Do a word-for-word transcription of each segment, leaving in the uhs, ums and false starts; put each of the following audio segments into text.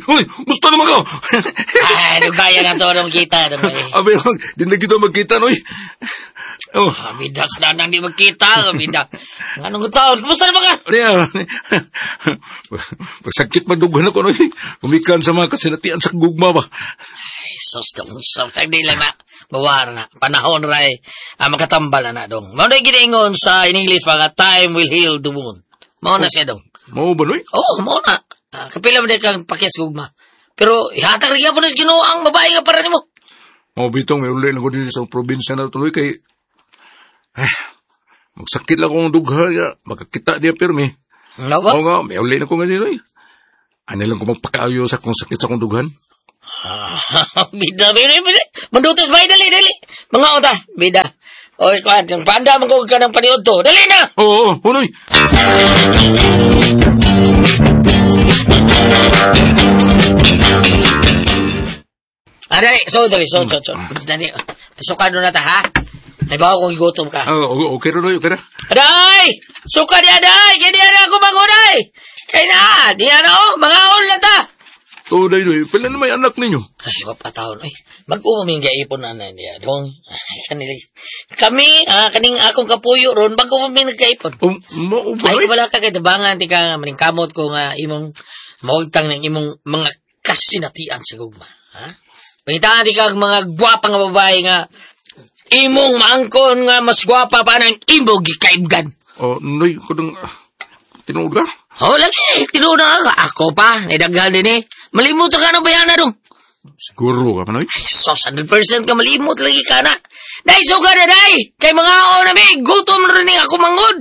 Uy, gusto naman ka. Ay, dugaya na to nung kita. Dugay. Abi, di na kita magkita, noy. Oh, Bida sa nang di magkita. Bida. Anong taon? Kumusta na ba ka? Niya. Pagsakit magdughan ako, noy. Gumikan sa mga kasinatian sa gugma ba. Ay, sus, dong. So, sagdi lang na. Bawar na. Panahon ray. Ah, makatambal na na, dong. Mao na ginaingon sa in English pa nga, time will heal the wound. Mao na siya, dong. Mao ba, noy? Oo, oh, mao na. Ah, kapila mo din kang pakyas gugma. Pero, ihatag rin po na Ginoo ang babae nga para nimo. Mao bitong may uli lang ko din sa probinsya na tuloy kay eh, magsakit lang akong dugha ya, makakita diya pirmi. Ano ba? Oo nga, may uli na ko nga din, oy. Ano lang ko magpakaayo sa akong sakit sa akong dughan. Ah, bida, bida, bida. Mandutos ba? Dali, dali. Mga ota, bida. Oy, kuan, yung panda man ko ka ng paniod to. Dali na! Oo, oo, hunoy. Ah, dali. So, dali. So, so, so. Dali. Pasukan na ta, ha? Ay, bawo kung gutom ka. Ah, okay, okay ra, noy, okay ra. Aday! Suka di aday! Kaya di na ako magunay! Kaya na, di na oh, mga lang ta! Tuday, noy, pila na may anak ninyo. Ay, mapatawon. Ay, mag-umo ming gaipon na na niya. Dong, ay, kanila. Kami, ah, kaning akong kapuyo ron, bago mo nagkaipon. Oh, mao ba, Ay, noy? wala ka kay tabangan, ti ka maningkamot ko nga imong maugtang ng imong mga kasinatian sa gugma. Ha? Pangitaan ti ka mga gwapa nga babae nga imong maangkon nga mas gwapa pa ng imong gikaibgan. Oh, noy, kudang, tinuod ka? Oh, lagi, tinuod na ka. Ako pa, naidaghan din eh. Malimot ka na ba yan na dong? Siguro ka pa, noy? Ay, sos, one hundred percent ka malimot lagi ka na. Day, suka na, day! Kay mga o na may, gutom na rin ako mangod.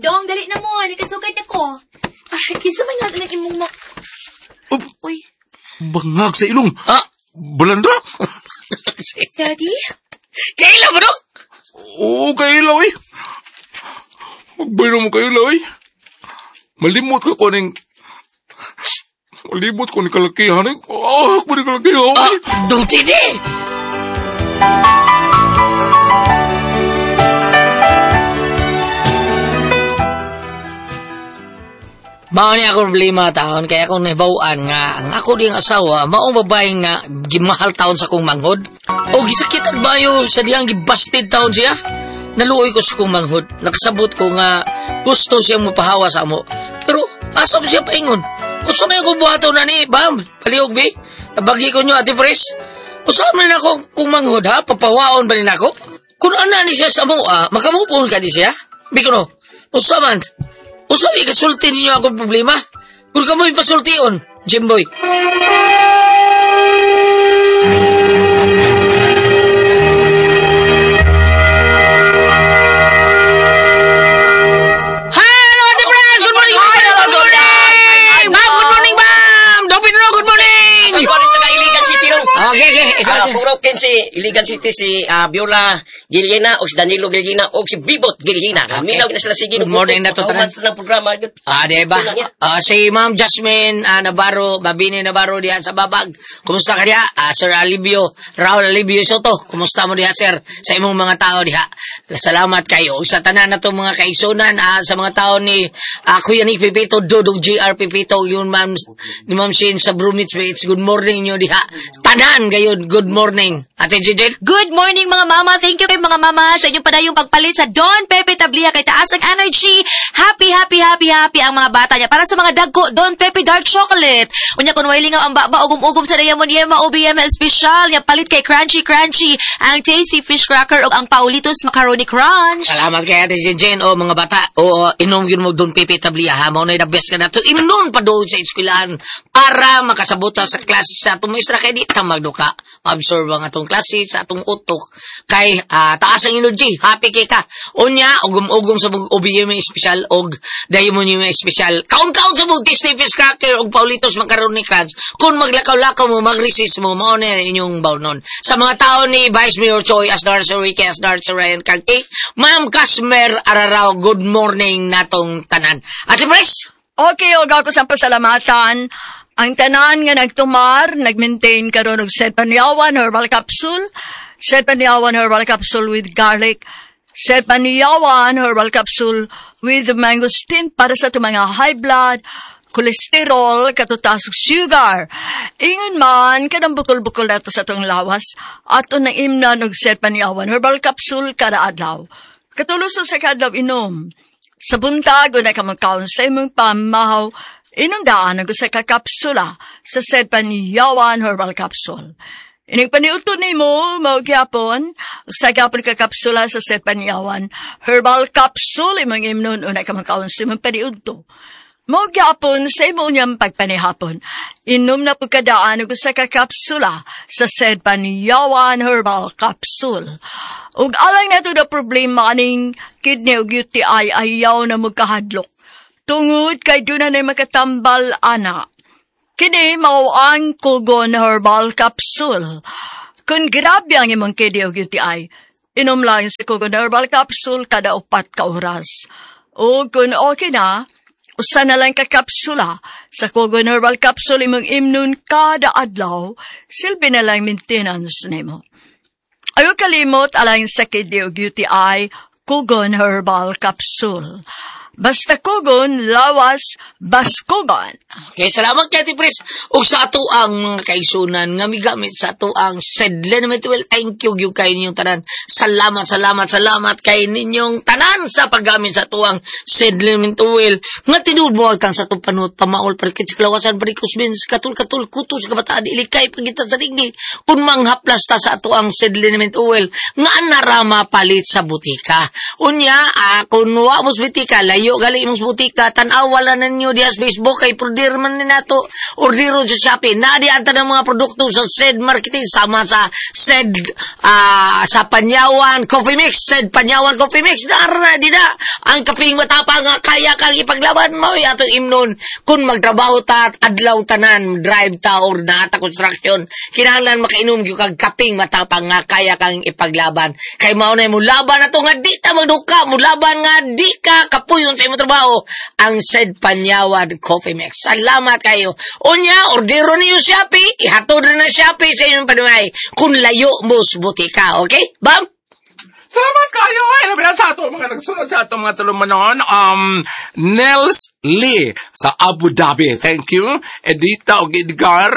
Dong, dali na mo. Nakasugad ako. Ay, kisa man nga ng imong mak... Oh, Uy, bangag sa ilong. Ah? Balandra? Daddy? Kailan ba, dong? Oo, kailaw eh. Magbayro mo kailaw eh. Malimot ka ko ning... Malimot ko ni kalakihan eh. Ah, ako ni kalakihan. Ah, dong tidi! Mao ni akong problema taon, kaya akong nahibawaan nga ang ako diyang asawa, maong babae nga gimahal taon sa kong manghod. O gisakit at bayo sa diyang gibasted taon siya. Naluoy ko sa kong manghod. Nakasabot ko nga gusto siyang mapahawa sa amo. Pero asa mo siya paingon? Usa may akong buhaton na ni, bam, palihog bi. Tabagi ko nyo, Ate Pres. Usa man ako kung manghod ha, papawaon ba rin ako? Kung ana ni siya sa mo, ah, makamupon ka di siya? Biko no, usa man. Usa may kasulti ninyo akong problema. Kung ka mo ipasultion, Jimboy. Hello, Ate Pres! Good morning! Good morning! Ma'am, good morning, ma'am! Dong Pedro, good morning! Good morning, taga Iligan City ron. Okay, okay. Ikaw, Ah, puro ken si Iligan City si ah, Viola Gilena o si Danilo Gilena o si Bibot Gilena. Okay. Minaw na sila sige. Good morning na to, tanan. Ng programa. Ah, di ba? Ah, si Ma'am Jasmine ah, Navarro, Mabini Navarro diha sa Babag. Kumusta ka diha? Ah, Sir Alibio, Raul Alibio Soto. Kumusta mo diha, sir? Sa imong mga tao diha. Salamat kayo. Sa tanan na to mga kaigsunan, ah, sa mga tao ni ah, Kuya Nick Pipito, Dodong G R Pipito, yun ma'am, ni Ma'am Shane sa Brumits Bates. Good morning nyo diha. Tanan gayon, good morning. Ate Jijin? Good morning mga mama. Thank you kay mga mama sa inyong padayong pagpalit sa Don Pepe Tablia kay taas ang energy. Happy, happy, happy, happy ang mga bata niya. Para sa mga dagko, Don Pepe Dark Chocolate. Unya kun way lingaw ang baba, ugom-ugom sa Diamond Yema O B M Special. Nya palit kay Crunchy Crunchy ang Tasty Fish Cracker ug ang Paulitos Macaroni Crunch. Salamat kay Ate Jijin. O mga bata, o inom yun mo Don Pepe Tablia ha. Mao na the best ka na to. Inom pa doon sa eskwelahan para makasabuta sa klase sa atong maestra kay di ta magduka. Ma-absorb ang atong klase sa atong utok kay uh, taas ang energy, happy kay ka. Unya ugom-ugom sa O B M Special og Diamond Yema Special. Kaon-kaon sa mug Tasty Fish Cracker og Paulitos Macaroni Crunch. Kung maglakaw-lakaw mo, mag-resist mo, mao na inyong bawnon. Sa mga tao ni Vice Mayor Choi, Asnar Sir Ricky, Asnar Sir Ryan Kagti, Ma'am Kasmer Ararao, good morning natong tanan. Ate Pres? Okay, og ako sa pasalamatan. Ang tanan nga nagtumar, nag-maintain karon og Setpaniawan Herbal Capsule, Setpaniawan Herbal Capsule with garlic, Setpaniawan Herbal Capsule with mangosteen para sa itong mga high blood, Kolesterol, katutaas og sugar. Ingon man, kanang bukol-bukol nato sa atong lawas, ato nang imnan og Said Panyawan Herbal Capsule kada adlaw. Katulo sa kadlaw inom. Sa buntag, una ka magkaon sa imong pamahaw, inom daan ang usa ka kapsula sa Said Panyawan Herbal Capsule. Inig paniudto nimo, mao gyapon, usa gyapon ka kapsula sa Said Panyawan Herbal Capsule, imong imnon, una ka magkaon sa imong paniudto. Mao gyapon sa imo unyang pagpanihapon. Inom na pagkadaan og usa ka kapsula sa Said Panyawan Herbal Capsule. Ug alang nato na problema aning kidney ug U T I, ayaw na magkahadlok. Tungod kay duna na makatambal ana. Kini mao ang Kugon Herbal Capsule. Kung grabe ang imong kidney ug U T I, inom lang sa Kugon Herbal Capsule kada upat ka oras. O kung okay na, usa na lang ka kapsula sa Kugon Herbal Capsule imong imnon kada adlaw, silbi na lang maintenance nimo. Ayaw kalimot alang sa kidney ug U T I, Kugon Herbal Capsule. Basta Kugon, lawas, baskugon. Okay, salamat kay Ate Pres. Ug sa ato ang mga kaigsunan nga migamit sa ato ang Sedlen Well, thank you gyud kay ninyong tanan. Salamat, salamat, salamat kay ninyong tanan sa paggamit sa ato ang Sedlen Well. Nga tinuod mo agtang sa atong panuot, pamaol, parikit sa kalawasan, varicose veins, katul-katul, kuto sa kabataan, ilikay, pagita sa digdi. Kung manghaplas ta sa ato ang Sedlen Well, nga anara mapalit sa butika. Unya, ah, kung wa mo sa butika, layo gali mo sa butika, tan-awa lang ninyo diya sa Facebook kay order man ni nato, orderon sa Shopee. Na di ang tanang mga produkto sa Said Marketing sama sa Said ah, sa Panyawan Coffee Mix, Said Panyawan Coffee Mix. Dara di na ang kaping matapang nga kaya kang ipaglaban mo atong imnon kung magtrabaho ta adlaw tanan, drive ta or nata construction, kinahanglan makainom gyud kag kaping matapang nga kaya kang ipaglaban kay mao na mo laban ato nga di ta magduka, mo laban nga di ka kapuyon sa imong trabaho, ang Said Panyawan Coffee Mix. Salamat kayo. Unya, ordero niyo Shopee, ihatod na Shopee sa inyong panumay kung layo mo sa butika. Okay, Bam? Salamat kayo! Ay, labi na sa ato mga nagsunod sa ato mga tulumanon. Um, Nels Lee sa Abu Dhabi. Thank you. Edita og Edgar,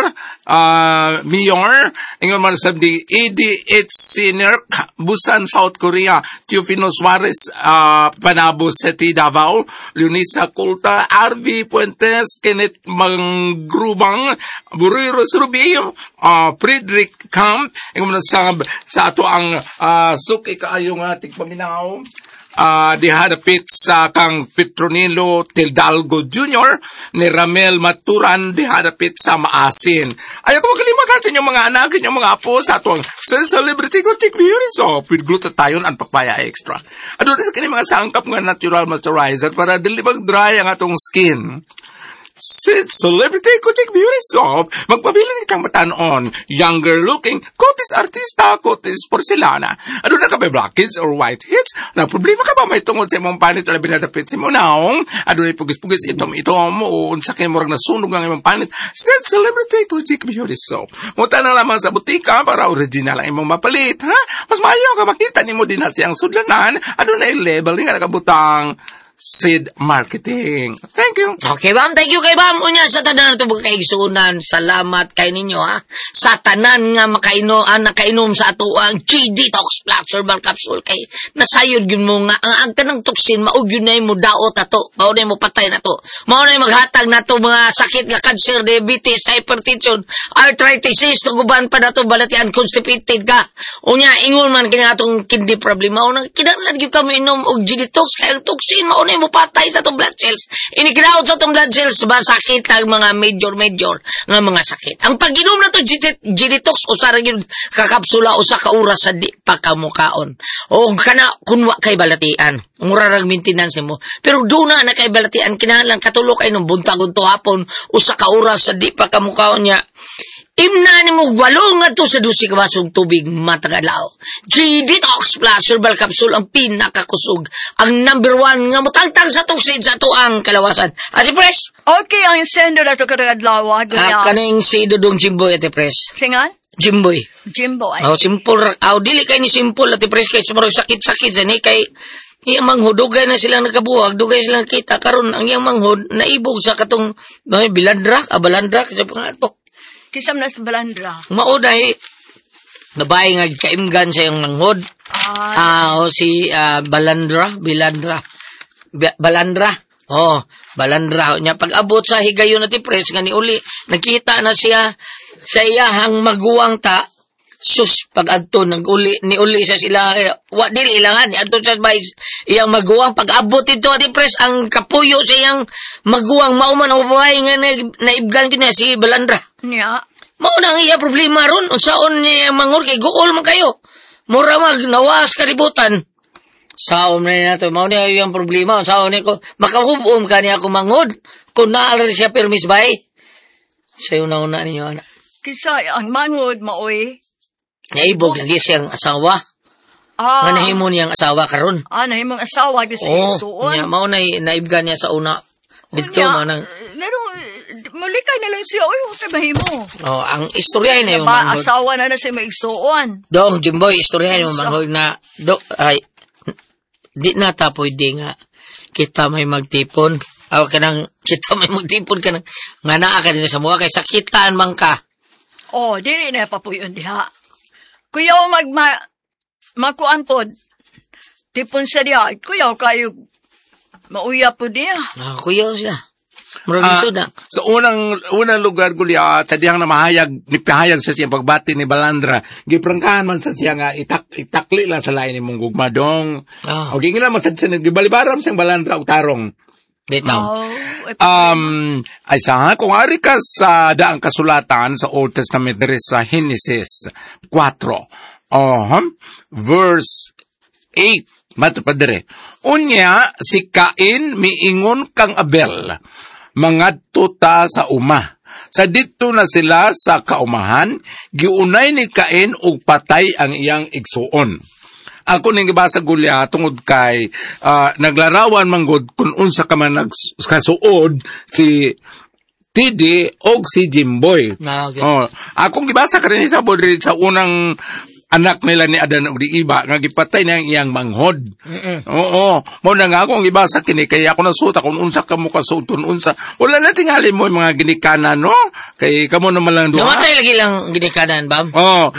uh, Mayor, ingon man sa di E D H Sinerk, Busan, South Korea. Teofino Suarez, uh, Panabo City, Davao. Leonisa Culta, R V Puentes, Kenneth Mangrubang, Buriro Rubio, uh, Frederick Camp, ingon man sa, sa ato ang uh, suki kaayo nga tigpaminaw, uh, diha dapit sa kang Petronilo Tildalgo Junior ni Ramel Maturan diha dapit sa Maasin. Ayaw ko magkalimutan sa inyong mga anak, inyong mga apo sa atong sa Celebrity Gothic Beauty Soap with glutathione and papaya extra. Aduna sa kini mga sangkap nga natural moisturizer para dili mag-dry ang atong skin. Si Celebrity Kojik Beauty Soap, magpabilin kang matanon, younger looking, kutis artista, kutis porcelana. Aduna ka ba blackheads or whiteheads? Na problema ka ba may tungod sa imong panit o labi na dapit sa imong naong? Aduna pugis-pugis itom-itom o unsa kay murag nasunog ang imong panit? Si Celebrity Kojik Beauty Soap. Muta na lamang sa butika para original ang imong mapalit, ha? Mas maayo ka makita nimo din na siyang sudlanan. Aduna label nga nakabutang Seed Marketing. Thank you. Okay, Bam. Thank you kay Bam. Unya, sa tanan na ito mga kaigsunan, salamat kay ninyo, ha. Sa tanan nga makaino, ah, nakainom sa ato ang G-Detox Plus Herbal Capsule kay nasayod yun mo nga ang, ang kanang toxin mao gyud na mo daot ato. Mao na mo patay na to. Mao na maghatag nato mga sakit nga cancer, diabetes, hypertension, arthritis, tuguban pa nato balatian, constipated ka. Unya, ingon man kini atong kidney problem. Mao na kinahanglan gyud kami inom og G-Detox kay ang toxin mao na mo patay sa atong blood cells. Inikinaot sa atong blood cells ba sakit ang mga major-major nga mga sakit. Ang pag-inom na to G-Detox, usa ra gyud ka kapsula usa ka oras sa di pa kamukaon. O kana kun wa kay balatian. Mura rag maintenance nimo. Pero duna na kay balatian, kinahanglan katulo kay nung buntag to hapon usa ka oras sa di pa kamukaon niya. Imna ni mo walo nga to sa dusi ka basong tubig matag adlaw. G-Detox Plus Herbal Capsule ang pinakakusog. Ang number one nga mutangtang sa toxin sa atuang kalawasan. Ate Pres! Okay, ang sender na ito karong adlaw. Ah, kaning si Dudong Jimboy, Ate Pres. Singan? Jimboy. Jimboy. Oh, simple ra. Aw, dili kay ni simple, Ate Pres, kay sumurag sakit-sakit sa ni kay Iyang manghod, dugay na silang nakabuwag, dugay silang kita karon ang iyang manghod naibog sa katong mga bilandra, ah, balandra sa pangato. Kisam na sa balandra. Mao na eh, babae nga kaimgan sa iyang manghod. Ah, Ah, o si ah, Balandra, Bilandra. Ba- Balandra. Oh, Balandra. Nya pag-abot sa higayon na ti pres nga ni uli, nakita na siya sa iyahang maguwang ta. Sus, pag adto nag-uli ni uli sa sila eh, wa dili ilangan ni adto sa bay iyang maguwang pag abot dito ati pres ang kapuyo sa iyang maguwang mao man ang babae nga na- naibgan ko niya si Balandra. niya. Mao na ang iya problema ron. Unsaon niya mangor kay guol man kayo. Mura mag nawas kalibutan. Saom na niya to. Mao niya yung problema. Unsaon niya ko makahubom ka niya ako mangod. Kung naa rin siya permis bay. Sayo na una ninyo ana. Kisa ang manghod maoy. Naibog lagi siyang asawa. Ah, Nga nahimo niyang asawa karon. ah, nahimong asawa gyud sa Oh, isuon. niya mao na naibgan niya sa una. Dito Unya, mao nang Ngano, mulikay na lang siya. Uy, huwag kay mahimo. oh, ang istorya na yung Ba, manghod. asawa na na siya maigsuon. Dong, Jimboy, istorya yung manghod na do, ay di na ta pwede nga kita may magtipon. Aw kanang kita may magtipon kanang nga naa ka din sa mga kay sakitan man ka. Oh, dili na papuyon diha. Kuyaw magma makuan pod. Tipon sa diha. Kuyaw kayo mauya po diha. Ah, kuya siya. Murag Ah, lisod na. Sa unang unang lugar gulya sa dihang na mahayag ni pahayag sa siyang pagbati ni Balandra giprangkahan man sa siya nga itak itakli lang sa lain nimong gugma dong. Ah. O gingila man sa siya gibalibaram siyang Balandra og tarong. Bitaw. Oh, eh, Um, ay sa kung ari ka sa daang kasulatan sa Old Testament diri sa Genesis four. Oh, verse eight. Mato pa diri. Unya si Cain miingon kang Abel, mangadto ta sa uma. Sa didto na sila sa kaumahan, giunay ni Cain og patay ang iyang igsuon. Ako ning gibasa gulya tungod kay ah, naglarawan manggod kung unsa ka man nagkasuod si T D og si Jimboy. Ah, okay. Oh, akong gibasa karon sa diri sa unang anak nila ni Adan ug ni Iba nga gipatay niya ang iyang manghod. Mm-mm. Oo, mo na nga akong gibasa kini kay ako nasuta kung unsa ka mo kasuod kung unsa. Wala na tingali mo yung mga ginikanan no kay kamo naman lang duha. Namatay lagi lang ginikanan, bam. Oh,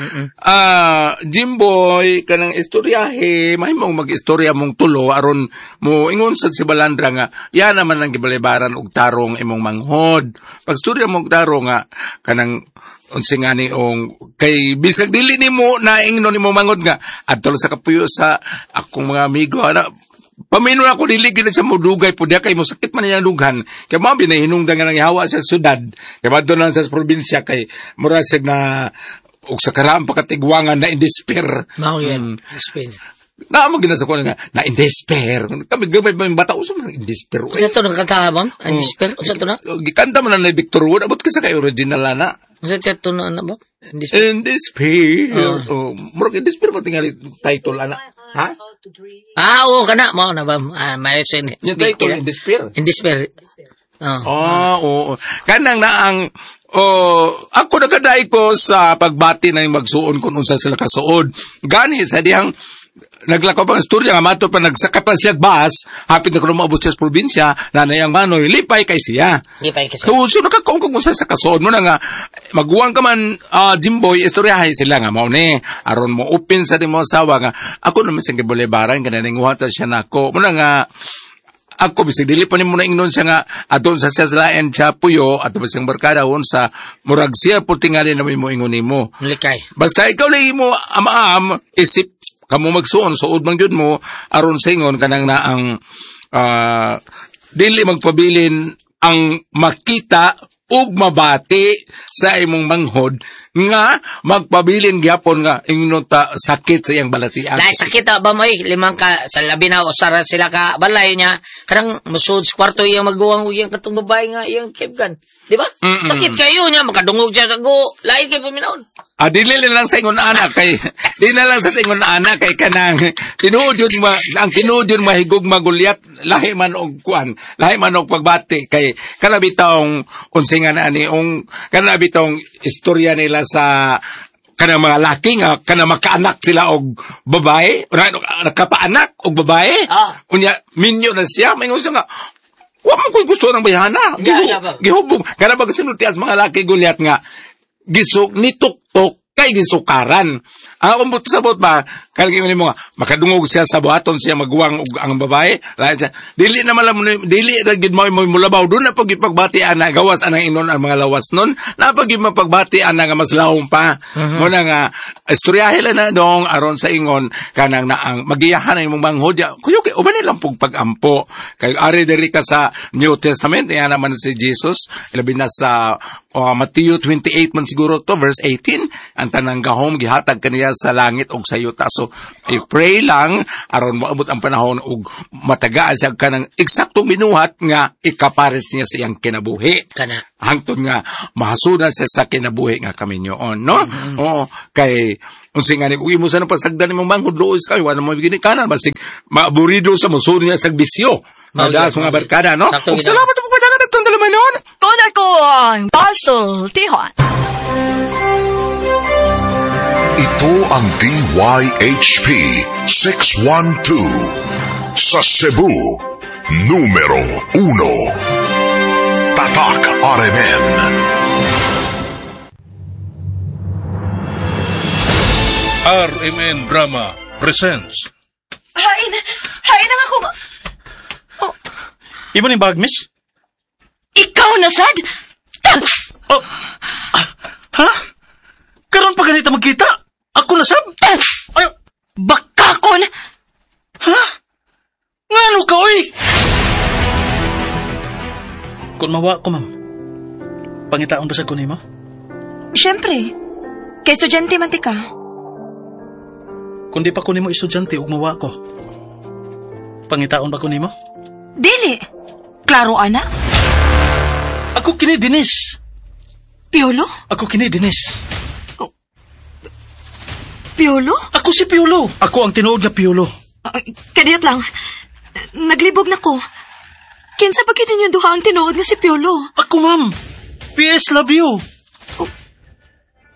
ah Jimboy kanang istoryahe, mahimong mag-istorya mong tulo aron mo ingon sad si Balandra nga yan naman ang gibalibaran og tarong imong manghod. Pag istorya mong tarong nga kanang unsa nga ni ong kay bisag dili nimo naingnon nimo manghod nga adto lang sa kapuyo sa akong mga amigo ana pamino ako dili gid sa mudugay po diya kay mo sakit man niyang dughan kay mao binahinungdan nga nang ihawa sa syudad kay madto lang sa probinsya kay mura sig na og sa karaang pakatigwangan na in despair. Mao yan. Spain. Na mo ginasa ko nga na in despair. Kami gamay pa yung bata uso man in despair. Unsa to nagkanta bam? Ang despair unsa to na? Gikanta man na ni Victor Wood abot ka sa kay original na. Unsa to na ana ba? Ang despair. In despair. Oh, murag in despair pa tingali title ana. Ha? Ah, oo kana mao na bam. Ah, may sen. Yung title in despair. In despair. Oh. Ah, oo. Kanang na ang oh, ako nagaday ko sa pagbati na yung magsuon kung unsa sila kasuod. Gani sa dihang naglakaw pang istorya nga mato pa nagsaka pa siya bus, hapit na kuno maabot siya sa probinsya, nanay ang manoy, lipay kay siya. Di pa kasi. So, so nakakaon kung unsa sa kasuod mo na nga, maguwang ka man, ah, Jimboy, istoryahay sila nga, mao ni, aron mo open sa di mo asawa nga, ako naman siyang gibulibaran, kananinguhata siya nako. Muna nga, ako bisag dili pa nimo na ingnon siya nga adon sa siya sa lain siya puyo ato ba siyang barkada on sa murag siya po tingali na mo ingon nimo. Likay. Basta ikaw lang mo amaam isip kamo magsuon suod man gyud mo aron sa ingon kanang na ang ah, dili magpabilin ang makita ug mabati sa imong manghod nga magpabilin gyapon nga ingnon ta sakit sa iyang balatian. Dahil sakit ah, ba mo eh, limang ka, sa labi na, usara sila ka balay niya, karang musud sa kwarto iyang maguwang ug iyang katong babae nga iyang kaibigan. Di ba? Sakit kayo niya, makadungog siya sa go, lain kay paminawon. Ah, dili lang sa ingon ana kay di na lang sa ingon ana kay kanang tinuod yun ma, ang tinuod yun mahigog magulyat lahi man og kuan, lahi man og pagbati kay kana bitawng unsa nga na ani ong kana bitawng istorya nila sa Kanang mga laki nga kanang makaanak sila og babae, una nakapaanak og babae. Ah. Unya minyo na siya, maingon siya nga wa man ko'y gusto ng bayhana. Yeah, yeah, ba? Gihubog. Kana ba sinultias mga laki gulyat nga gisuk nituktok kay gisukaran. Ang akong but sabot ba, kaya mo nga, makadungog siya sa buhaton siya maguwang og ang babae. Lain siya. Dili naman lang, dili na gid mo mo mulabaw. Doon na pag ipagbati ana, gawas anang inon ang mga lawas nun. Na pag mapagbati ana nga mas lawom pa. Mm-hmm. Muna nga, istoryahe lang na dong, aron sa ingon, kanang naang, magiyahan ang imong manghod. Kuyo kay, uban nilang pug pag-ampo. Kay ari diri ka sa New Testament, iyan naman si Jesus, ilabi na sa uh, Matthew twenty-eight man siguro to, verse eighteen, ang tanang gahom gihatag kaniya sa langit og sa yuta. So, i-pray lang aron moabot ang panahon og matagaan siya kanang eksaktong binuhat nga ikapares niya sa iyang kinabuhi. Kana. Hangtod nga mahasudan siya sa kinabuhi nga kaminyoon, no? Mm-hmm. Oo, kay unsa nga ni imo sa pasagdan imong manghod luoy sa kayo, wala mo ginikanan basig maaburido sa musulod niya sa bisyo. Madalas mga barkada, no? Ug salamat po padagan atong dalamanon. Kon ako ang Basil Tihon. Ito ang D Y H P six one two sa Cebu, numero uno. Tatak R M N. R M N Drama presents. Hain! Hain ang ako! Oh. Ibo ni bag, miss? Ikaw na, sad? Oh. Ah, ha? Karon pa ganito magkita? Ako na, sab? Ay! Bakakon! Ha? Ngano ka, oy? Kung mawa ko, ma'am, pangitaon ba sa kunin mo? Siyempre. Kay estudyante man ti ka. Kung di pa kunin mo estudyante, ug mawa ko, pangitaon ba kunin mo? Dili. Klaro, ana. Ako kini, Denise. Piolo? Ako kini, Denise. Oh. Piolo? Ako si Piolo. Ako ang tinuod nga Piolo. Uh, kadiyot lang. Naglibog na ko. Kinsa pa gid ninyo duha ang tinuod nga si Piolo? Ako, ma'am. P S love you.